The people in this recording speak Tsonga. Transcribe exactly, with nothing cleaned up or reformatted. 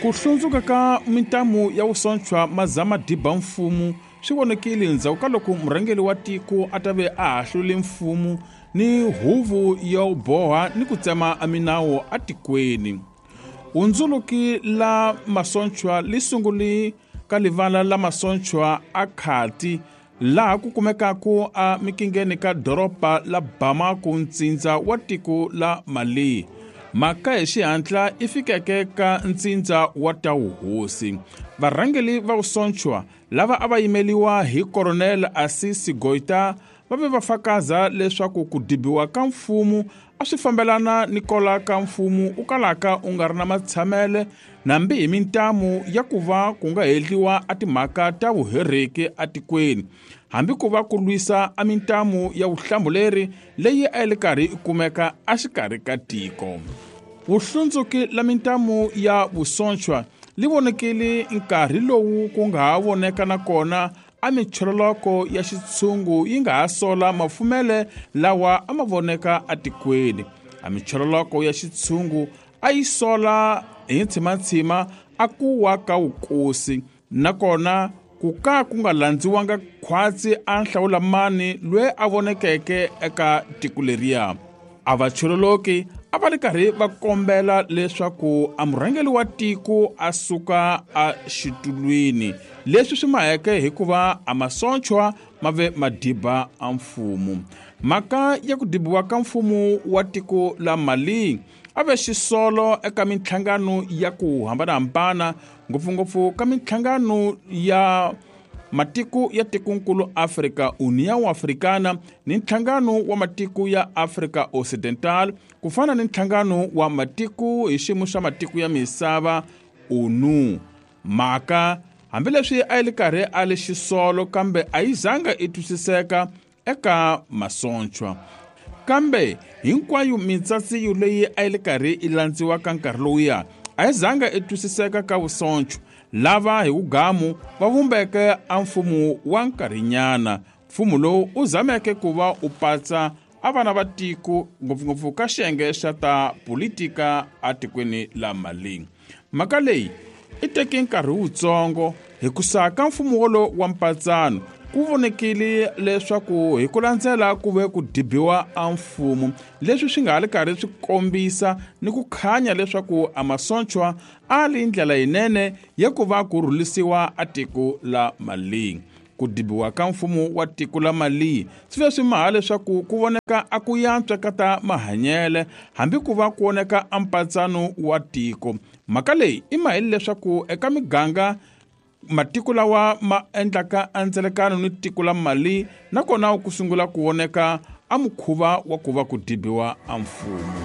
Ku hlundzuka ka mintamu ya vusontshwa mazama diba mfumo swi vonekile ndzhaku ka loko murhangeri wa tiko a ta ve a hahlule mfumo ni huvo yo boha ni ku tsema a minawu atikweni. Hundzuluki la masontshwa li sunguli ka livala la masontshwa a Khati laha ku kumekaka a mikingeni ka doroba la Bamako, ntsindza wa tiko la Mali. Mhaka hi xihatla i fikeke ka ntsindza wa ta wuhosi. Varhangeri va vusontshwa lava a va yimeliwa hi Colonel Assimi Goïta va ve va fakaza leswaku ku dibiwa ka mfumo a swi fambelana ni kola ka mfumo u kalaka u nga ri na matshamele nambi hi mintamu ya ku va ku nga hedliwa a timhaka ta vuhereki atikweni, hambi ku va ku lwisa a mintamu ya vuhlambuleri leyi a yi li karhi yi kumeka exikarhi ka tiko. Vuhlundzuki la mintamu ya vusontshwa li vonekile nkarhi lowu ku nga ha voneka nakona a michololoko ya xitshungu yi nga ha sola mafumele lawa a ma voneka atikweni. A michololoko ya xitshungu a yi sola hi ntshimatshima a ku wa ka wukosi, nakona ku ka ku nga landziwanga khwatsi a nhlawulamani loyi a vonekeke eka tiko leriya. A vachololoki a va ri karhi va kombela leswaku a murhangeri wa tiko a suka a xitulwini, leswi swi maheke hikuva a masontshwa ma ve madiba a mfumo. Mhaka ya ku dibiwa ka mfumo wa tiko la Mali a ve xisolo eka minhlangano ya ku hambanahambana, ngopfungopfu ka minhlangano ya matiko ya tikonkulu Afrika, União Africana, ni nhlangano wa matiko ya Afrika Occidental, ku fana ni nhlangano wa matiko hi xiyimo xa matiko ya misava O N U. Mhaka hambileswi a yi li karhi a li xisolo, kambe a yi zanga i twisiseka eka masontshwa. Kambe hinkwayo mitsatsiyo leyi a yi li karhi i landziwa ka nkarhi lowuya a yi zanga i twisiseka ka vusontshwa lava hi wugamu va vumbeke a mfumo wa nkarhinyana. Mfumo lowu u zameke ku va u patsa a vana va tiko, ngopfungopfu ka xiyenge xa ta politika atikweni la Mali. Mhaka leyi i teke nkarhi wutsongo hikusa ka mfumo wolowo wa mpatsano ku vonekile leswaku hi ku landzela ku ve ku dibiwa a mfumo, leswi swi nga ha li karhi swi kombisa ni ku khanya leswaku a masontshwa a li ndlela yinene ya ku va ku rhulisiwa a tiko la Mali. Ku dibiwa ka mfumo wa tiko la Mali swi ve swi maha leswaku ku voneka a ku yantswa ka ta mahanyele, hambi ku va ku voneka a mpatsano wa tiko. Mhaka leyi i maheli leswaku eka miganga matiko lawa ma endlaka andzelekano ni tiko la Mali nakona ku sungula ku voneka a mukhuva wa ku va ku dibiwa a mfumo.